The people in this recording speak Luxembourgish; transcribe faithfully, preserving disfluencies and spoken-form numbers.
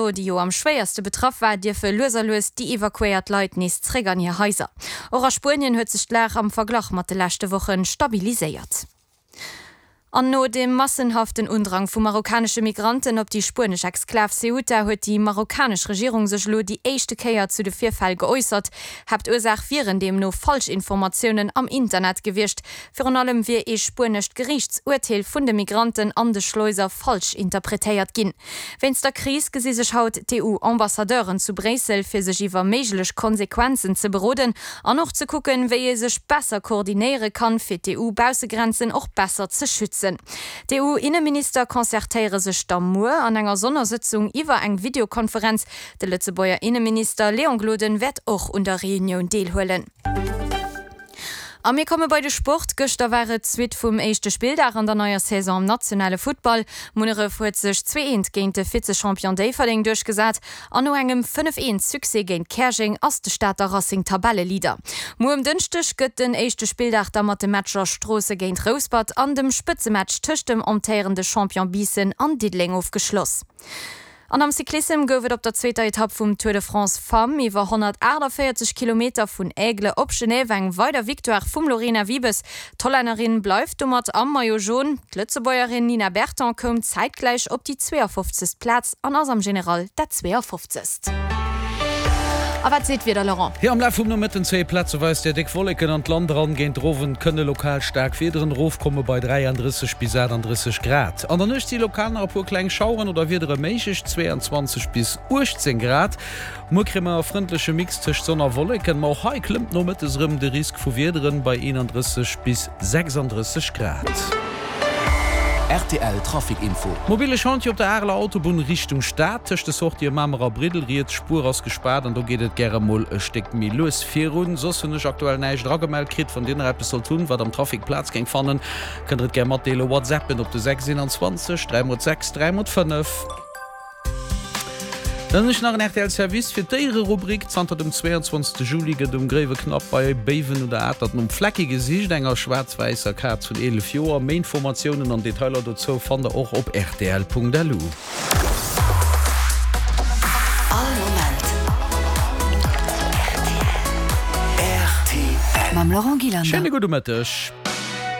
Toledo, déi jo am schwéierste betraff war, dierfe lues a lues déi evakuéiert Leit nees zréck an hir Haiser. Och a Spuenien huet sech d'Lag am Verglach mat de leschte Woche stabiliséiert. An no dem massenhaften Undrang vu marokkanesche Migranten op déi spuenesch Exklav Ceuta huet déi marokkanesch Regierung sech elo déi éischte Kéier zu de Virfäll geäussert. Haaptursaach wieren deemno Falschinformatiounen am Internet gewiescht. Virun allem wier ee spuenescht Geriichtsurteel vun de Migranten an de Schleuser falsch interpretéiert ginn. Wéinst der Kris gesi sech haut d'EU-Ambassadeuren zu Bréissel, fir sech iwwer méiglech Konsequenzen ze beroden an och ze kucken, wéi ee sech besser koordinéiere kann, fir d'EU-Baussegrenzen och besser ze schützen. D'EU-Inneminister concertéiere sech da muer an enger Sonnersëtzung iwwer eng Videokonferenz. De Lëtzebuerger Inneminister Léon Gloden wäert och un der Reunioun deelhuelen. A mir komme bei de Sport. Gëschter war et d'Suite vum éischte Spilldag an der neier Saison am nationale Futtball. Munneref huet sech zwee eent géint de Vize-Champion Déifferdeng duerchgesat an no engem fënnef eent Succès géint Käerjeng ass de Stater Racing Tabelleleader. Muer um Dënschdeg gëtt den éischte Spilldag da mat de Matcher Stroosse géint Rouspert an dem Spëtzematch tëscht dem amtéierende Champion Biissen an Diddeleng ofgeschloss. An am Cyclissem gouf et op der zweeter Etapp vum Tour de France Femmes iwwer honnertaachtavéierzeg Kilometer vun Aigle op Genève eng weider Victoire vum Lorena Wiebes. D'Hollännerin bleift domat am Maillot Jaune. D'Lëtzebuergerin Nina Berton koum zäitgläich op déi zweeafofzegst Plaz an ass am General dat zweeafofzegst. A wat seet d'Wieder, Laurent? Jo, am Laf vum Nomëtten zéie plazeweis déi déck Wolleken an d'Land eran. Géint den Owend kënne lokal staark Wiederen erofkomme bei dräiandrësseg bis achtandrësseg Grad. An der Nuecht si lokal nach e puer kleng Schaueren oder Wiedere méiglech, zweeanzwanzeg bis uechtzéng Grad. Muer kréie mer e frëndleche Mix tëscht Sonn a Wolleken, ma och hei klëmmt nomëttes erëm de Risk vu Wiederen bei eenandrësseg bis sechsandrësseg Grad. Rtl Trafic Info. Mobile Chantier op der Areler Autobunn Richtung Stad, tëscht de Sortië Mamer a Briddel. Riets Spuer ass gespaart an do geet et gäre mol e Stéck méi lues virun. Soss hunn ech aktuell näischt eragemellt kritt. Wann dir nach eppes sollt hunn, wat am Trafic Plaz géing fannen, kënnt der et gär matdeelen. Whatsappen op de sechs eenanzwanzeg dräi mol sechs dräi mol fënnef. Dann hunn ech nach en rtl Service fir d'Déiererubrik. Zanter dem zweeanzwanzegste Juli gëtt um Gréiweknapp bei Béiwen un der Atert nom Flecki gesicht, enger schwaarz-wäisser Kaz vun eelef Joer. Méi Informatiounen an Detailer dozou fannt der och op rtl.lu. All Moment rtl. Mam Laurent Gillander. Schéine gudde Mëtteg.